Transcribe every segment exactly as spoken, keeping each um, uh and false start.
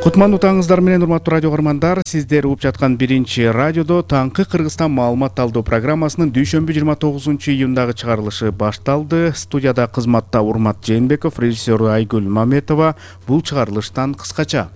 Кутмандуу таңыңыздар менен, урматтуу радио көрөрмандар. Сиздер угуп жаткан биринчи радиодо таңкы Кыргызстан маалымат талдоо программасынын дүйшөмбү жыйырма тогузунчу июндагы чыгарылышы башталды. Студияда кызматта Урмат Жээнбеков, режиссеру Айгүл Маметова. Бул чыгарылыштан кыскача.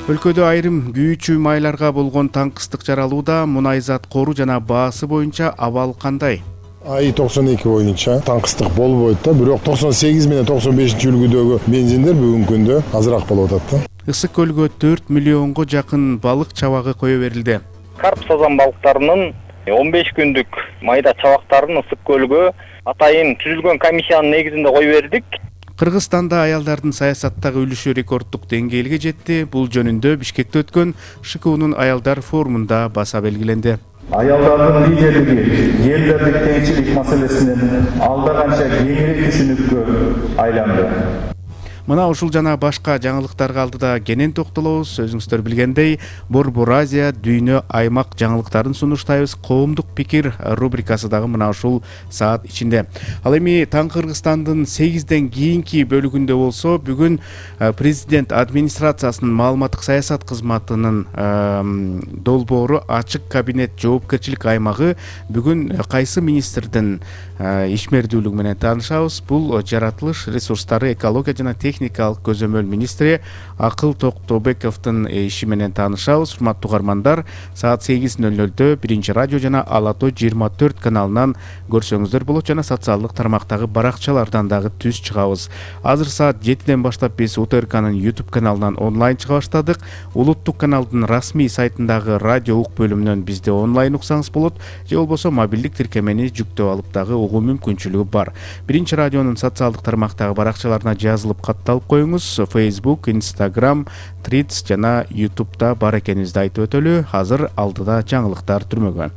Өлкөдө айрым күйүүчү майларга болгон таңкыстык жаралууда. Мунай зат кору жана баасы боюнча абал кандай? ай токсон эки боюнча таңкыстык болбойт да, бирок токсон сегиз менен токсон бешинчи үлгүдөгү бензиндер бүгүнкү күндө азыраак болуп атат да. Ысык көлгө төрт миллионго жакын балык чабагы кое берилди. Карп сазан балыктарынын он беш күндүк майда чабактарын Ысык көлгө атайын түзүлгөн комиссиянын негизинде кое бердик. Кыргызстанда аялдардын саясаттагы үлүшү рекорддук деңгээлге жетти. Бул жөнүндө Бишкекте өткөн Ш К Унун аялдар форумунда баса белгиленди. Аялдардын лидерлиги ерлердик теңчилик маселесинен алда канча кеңири түшүнүккө айланды. Мына ушул жана башка жаңылыктарга алдыда кенен токтолобуз. Өзүңүздөр билгендей, Борбор Азия дүйнө аймак жаңылыктарын сунуштайбыз. Коомдук пикир рубрикасы дагы мына ушул саат ичинде. Ал эми Таңкы Кыргызстандын сегизден кийинки бөлүгүндө болсо, бүгүн президент администрациясынын маалыматтык саясат кызматынын долбоору ачык кабинет жоопкерчилик аймагы бүгүн кайсы министрдин ишмердүүлүгү менен таанышабыз. Бул жаратылыш ресурстары, экология жана техникалык көзөмөл министри Акыл Токтобековдун иши менен таанышабыз. Урматтуу угармандар, саат сегиз ноль нольдө биринчи радио жана Ала Тоо жыйырма төрт каналынан көрсөңүздөр болот жана социалдык тармактагы баракчалардан дагы түз чыгабыз. Азыр саат жетиден баштап биз У Т Р К'нын YouTube каналынан онлайн чыга баштадык. Улуттук каналдын расмий сайтындагы радио ук бөлүмүнөн бизди онлайн уксаңыз болот, же болбосо мобилдик тиркемени жүктөп алып дагы угуу мүмкүнчүлүгү бар. Биринчи радионун социалдык тармактагы баракчаларына жазылып катталып коюңуз. Facebook, Instagram, Threads жана YouTube'да бар экенибизди айтып өтөлү. Азыр алдыда жаңылыктар түрмөгөн.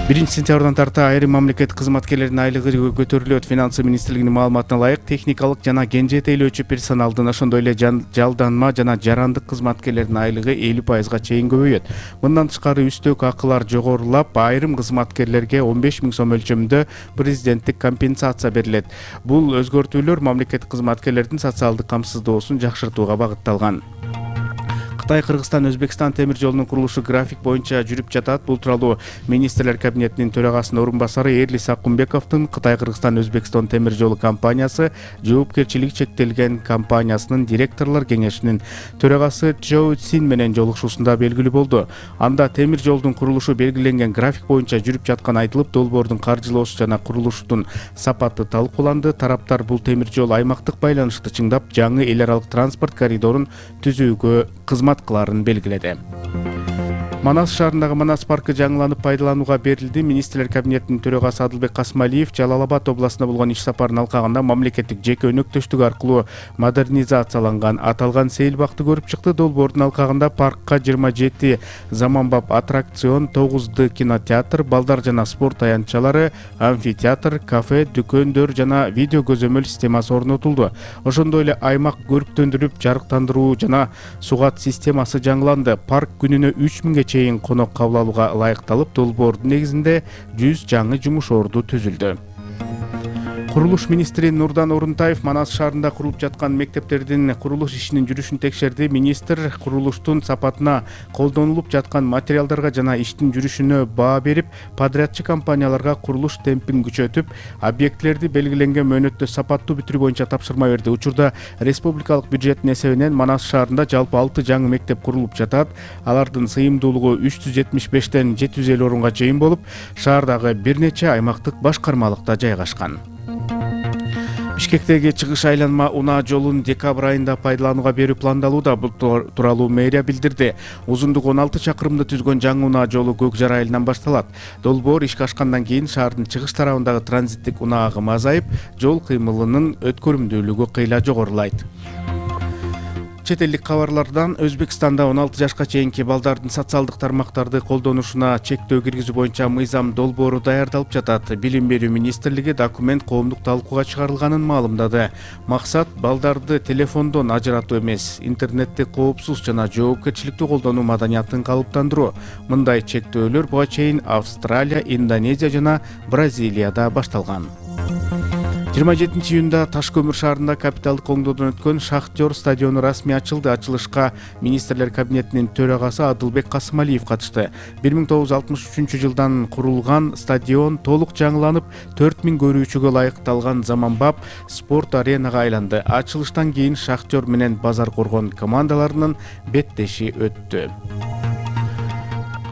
биринчи сентябрдан тарта айрым мамлекеттик кызматкерлердин айлыгы көтөрүлөт. Финансы министрлигинин маалыматына ылайык, техникалык жана кен жетээлөөчү персоналдын, ошондой эле жалданма жана жарандык кызматкерлердин айлыгы элүү пайызга чейин көбөйөт. Мындан тышкары үстөк акылар жогорулап, айрым кызматкерлерге он беш миң сом өлчөмүндө президенттик компенсация берилет. Бул өзгөртүүлөр мамлекеттик кызматкерлердин социалдык камсыздоосун жакшыртууга багытталган. Кытай Кыргызстан Өзбекстан темир жолунун курулушу график боюнча жүрүп жатат. Бул тууралуу министрлер кабинетинин төрагасынын орун басары Эрлис Акунбековдун Кытай Кыргызстан Өзбекстан темир жолу компаниясы жоопкерчилиги чектелген компаниясынын директорлор кеңешинин төрагасы Чжоу Цин менен жолугушуусунда белгилүү болду. Анда темир жолдун курулушу белгиленген график боюнча жүрүп жатканы айтылып, долбоордун каржылоосу жана курулуштун сапаты талкууланды. Тараптар бул темир жол аймактык байланышты чыңдап, жаңы эл аралык транспорт коридорун түзүүгө кызмат кыларын белгиледи. Манас шаарындагы Манас паркы жаңыланып пайдаланууга берилди. Министрлер кабинетинин төрагасы Адылбек Касмалиев Жалал Абад областына болгон иш сапарын алкагында мамлекеттик жеке өнөктөштүк аркылуу модернизацияланган аталган сейил бакты көрүп чыкты. Долбоордун алкагында паркка жыйырма жети заманбап аттракцион, тогуз д кинотеатр, балдар жана спорт аянтчалары, амфитеатр, кафе, дүкөндөр жана видео көзөмөл системасы орнотулду. Ошондой эле аймак көрктөндүрүп, жарыктандыруу жана сугат системасы жаңыланды. Парк күнүнө үч миңге чейин конок кабыл алууга ылайыкталып, долбоордун негизинде жүз жаңы жумуш орду түзүлдү. Курулуш министри Нурдан Орунтаев Манас шаарында курулуп жаткан мектептердин курулуш ишинин жүрүшүн текшерди. Министр курулуштун сапатына, колдонулуп жаткан материалдарга жана иштин жүрүшүнө баа берип, подрядчы компанияларга курулуш темпин күчөтүп, объектилерди белгиленген мөөнөттө сапаттуу бүтүрүү боюнча тапшырма берди. Учурда республикалык бюджеттин эсебинен Манас шаарында жалпы алты жаңы мектеп курулуп жатат. Алардын сыйымдуулугу үч жүз жетимиш бештен жети жүз элүү орунга чейин болуп, шаардагы бир нече аймактык башкармалыкта жайгашкан. Бишкектеги чыгыш айланма унаа жолун декабрь айында пайдаланууга берүү пландалууда. Бул тууралуу мэрия билдирди. Узундугу он алты чакырымды түзгөн жаңы унаа жолу Көк Жара айылынан башталат. Долбоор ишке ашкандан кийин шаардын чыгыш тарабындагы транзиттик унаа агымы азайып, жол кыймылынын өткөрүмдүүлүгү кыйла жогорулайт. Чет элдик кабарлардан Өзбекстанда он алты жашка чейинки балдардын социалдык тармактарды колдонушуна чектөө киргизүү боюнча мыйзам долбоору даярдалып жатат. Билим берүү министрлиги документ коомдук талкууга чыгарылганын маалымдады. Максат балдарды телефондон ажыратуу эмес, интернетти коопсуз жана жоопкерчиликтүү колдонуу маданиятын калыптандыруу. Мындай чектөөлөр буга чейин Австралия, Индонезия жана Бразилияда башталган. жыйырма жетинчи июнда Таш көмүр шаарында капиталдык оңдоодон өткөн Шахтер стадиону расмий ачылды. Ачылышка министрлер кабинетинин төрагасы Адылбек Касымалиев катышты. бир миң тогуз жүз алтымыш үчүнчү жылдан курулган стадион толук жаңыланып, төрт миң көрүүчүгө ылайыкталган заманбап спорт аренага айланды. Ачылыштан кийин Шахтер менен Базар Коргон командаларынын беттеши өттү.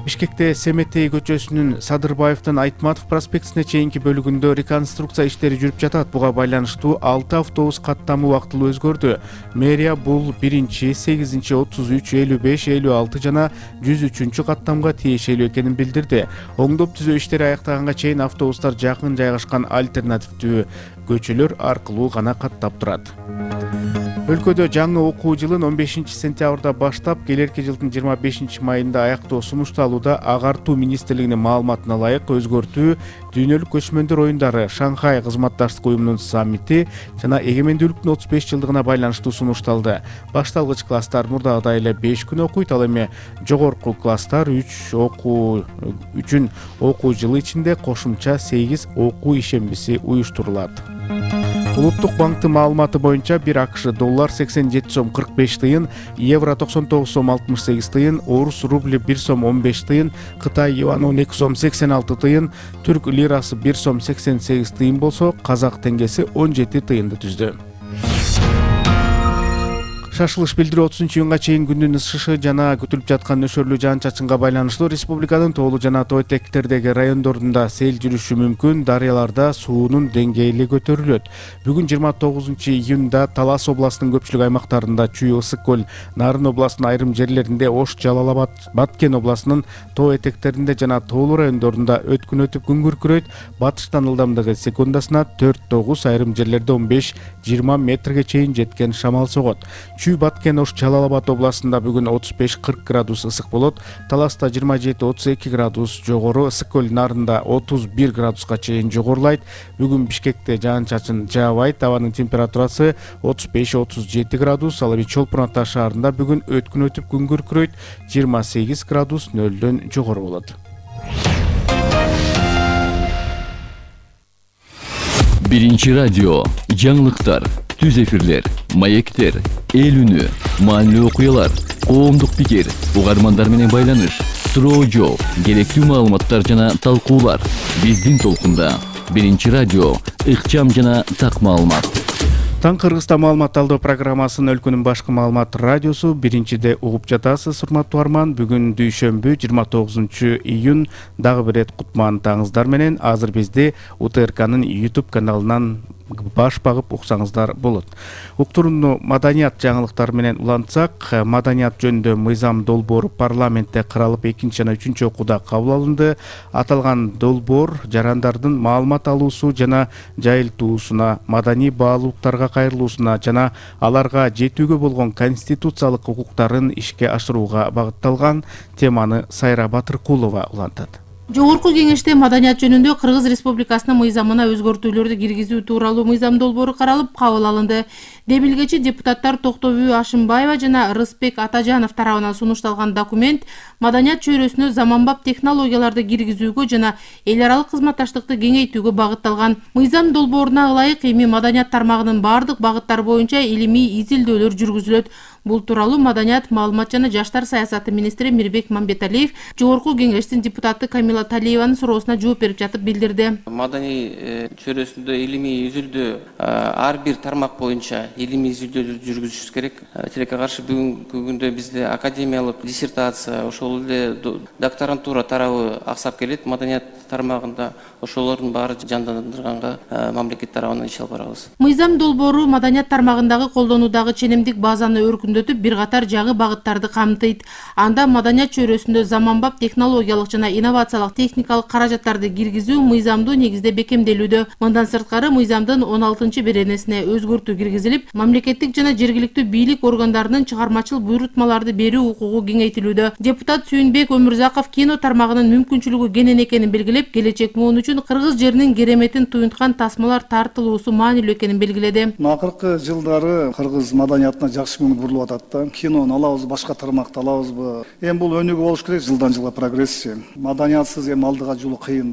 Бишкекте Семетей көчөсүнүн Садырбаевдин Айтматов проспектисине чейинки бөлүгүндө реконструкция иштери жүрүп жатат. Буга байланыштуу алты автобус каттамы убактылуу өзгөрдү. Мэрия бул биринчи, сегизинчи, отуз үч, элүү беш, элүү алты жана жүз үчүнчү каттамга тиешелүү экенин билдирди. Оңдоп түзөө иштери аяктаганга чейин автобустар жакын жайгашкан альтернативдүү көчөлөр аркылуу гана каттап турат. Өлкөдө жаңы окуу жылын он бешинчи сентябрда баштап, келерки жылдын жыйырма бешинчи майында аяктоо сунушталууда. Агартуу министрлигинин маалыматына ылайык өзгөртүү дүйнөлүк көчмөндөр оюндары, Шанхай кызматташтык уюмунун саммити жана эгемендүүлүктүн отуз беш жылдыгына байланыштуу сунушталды. Башталгыч класстар мурдагыдай эле беш күн окуйт, ал эми жогорку класстар үч окуу үчүн окуу жылы ичинде кошумча сегиз окуу ишембиси уюштурулат. Улуттук банктын маалыматы боюнча бир АКШ доллар сексен жети сом кырк беш тыйын, евро токсон тогуз сом алтымыш сегиз тыйын, орус рубли бир сом он беш тыйын, Кытай юан он эки сом сексен алты тыйын, түрк лирасы бир сом сексен сегиз тыйын болсо, казак теңгеси он жети тыйынды түздү. Шашылыш билдирүү отузунчу июнга чейин күндүн ысышы жана күтүлүп жаткан нөшөрлүү жаан-чачынга байланыштуу республиканын тоолуу жана тоо этектердеги райондорунда сел жүрүшү мүмкүн, дарыяларда суунун деңгээли көтөрүлөт. Бүгүн жыйырма тогузунчу июнда Талас областынын көпчүлүк аймактарында, Чүй, Ысык көл, Нарын областынын айрым жерлеринде, Ош, Жалал Абад, Баткен областынын тоо этектеринде жана тоолуу райондорунда өткүн өтүп күн күркүрөйт. Батыштан ылдамдыгы секундасына төрт тогуз, айрым жерлерде он беш жыйырма метрге чейин жеткен шамал согот. Чүй, Баткен, Ош, Жалал Абад областында бүгүн отуз беш кырк градус ысык болот. Таласта жыйырма жети отуз эки градус жогору, Ысык көл, Нарында отуз бир градуска чейин жогорулайт. Бүгүн Бишкекте жаан-чачын жаабайт. Абанын температурасы отуз беш отуз жети градус. Ал эми Чолпон Ата шаарында бүгүн өткүн өтүп күн күркүрөйт. жыйырма сегиз градус нөлдөн жогору болот. Биринчи радио, жаңылыктар, түз эфирлер, маектер, эл үнү, маанилүү окуялар, коомдук пикир, угармандар менен байланыш, суроо жооп, керектүү маалыматтар жана талкуулар. Биздин толкунда Биринчи радио, ыкчам жана так маалымат. Таң Кыргызстан маалымат алдоо программасынын өлкөнүн башкы маалымат радиосу биринчиде угуп жатасыз, урматтуу арман. Бүгүн дүйшөмбү жыйырма тогузунчу июнь, дагы бир рет кутман таңыңыздар менен. Азыр бизди УТРКнын YouTube каналынан баш багып уксаңыздар болот. Уктурууну маданият жаңылыктары менен улантсак, маданият жөнүндө мыйзам долбоору парламентте каралып экинчи жана үчүнчү окууда кабыл алынды. Аталган долбоор жарандардын маалымат алуусу жана жайылтуусуна, маданий баалуулуктарга кайрылуусуна жана аларга жетүүгө болгон конституциялык укуктарын ишке ашырууга багытталган. Теманы Сайра Батыркулова улантат. Жогорку кеңеште маданият жөнүндө Кыргыз Республикасынын мыйзамына өзгөртүүлөрдү киргизүү тууралуу мыйзам долбоору каралып кабыл алынды. Демилгечи депутаттар Токтобүй Ашымбаева жана Рыспек Атажанов тарабынан сунушталган документ маданият чөйрөсүнө заманбап технологияларды киргизүүгө жана эл аралык кызматташтыкты кеңейтүүгө багытталган. Мыйзам долбооруна ылайык эми маданият тармагынын бардык багыттары боюнча илимий изилдөөлөр жүргүзүлөт. Бул тууралуу маданият, маалымат жана жаштар саясаты министри Мирбек Мамбеталиев Жогорку кеңештин депутаты Камила Талиеванын суроосуна жооп берип жатып билдирди. Маданий чөйрөсүндө илимий изилдөө ар бир тармак боюнча илимий изилдөөлөрдү жүргүзүшүбүз керек. Тилекке каршы бүгүнкү күндө бизде академиялык диссертация, ошол эле докторантура тарабы аксап келет. Маданият тармагында ошолордун баары жандандырганга мамлекет тарабынан иш алып барабыз. Мыйзам долбоору маданият тармагындагы колдонуудагы ченемдик базаны өркүндөтүү чөйрөсүндө бир катар жагы багыттарды камтыйт. Анда маданият чөйрөсүндө заманбап технологиялык жана инновациялык техникалык каражаттарды киргизүү мыйзамдуу негизде бекемделүүдө. Мындан сырткары мыйзамдын он алтынчы беренесине өзгөртүү киргизилип, мамлекеттик жана жергиликтүү бийлик органдарынын чыгармачыл буйрутмаларды берүү укугу кеңейтилүүдө. Депутат Сүйүнбек Өмүрзаков кино тармагынын мүмкүнчүлүгү кенен экенин белгилеп, келечек муун үчүн кыргыз жеринин кереметин туюнткан тасмалар тартылуусу маанилүү экенин белгиледи. Акыркы жылдары кыргыз маданиятына жакшы көңүл бурулуп атат да. Кинону алабыз, башка тармакты алабызбы? Эми бул өнүгүү болуш керек, жылдан жылга прогрессия. Маданиятсыз эми алдыга жолу кыйын да.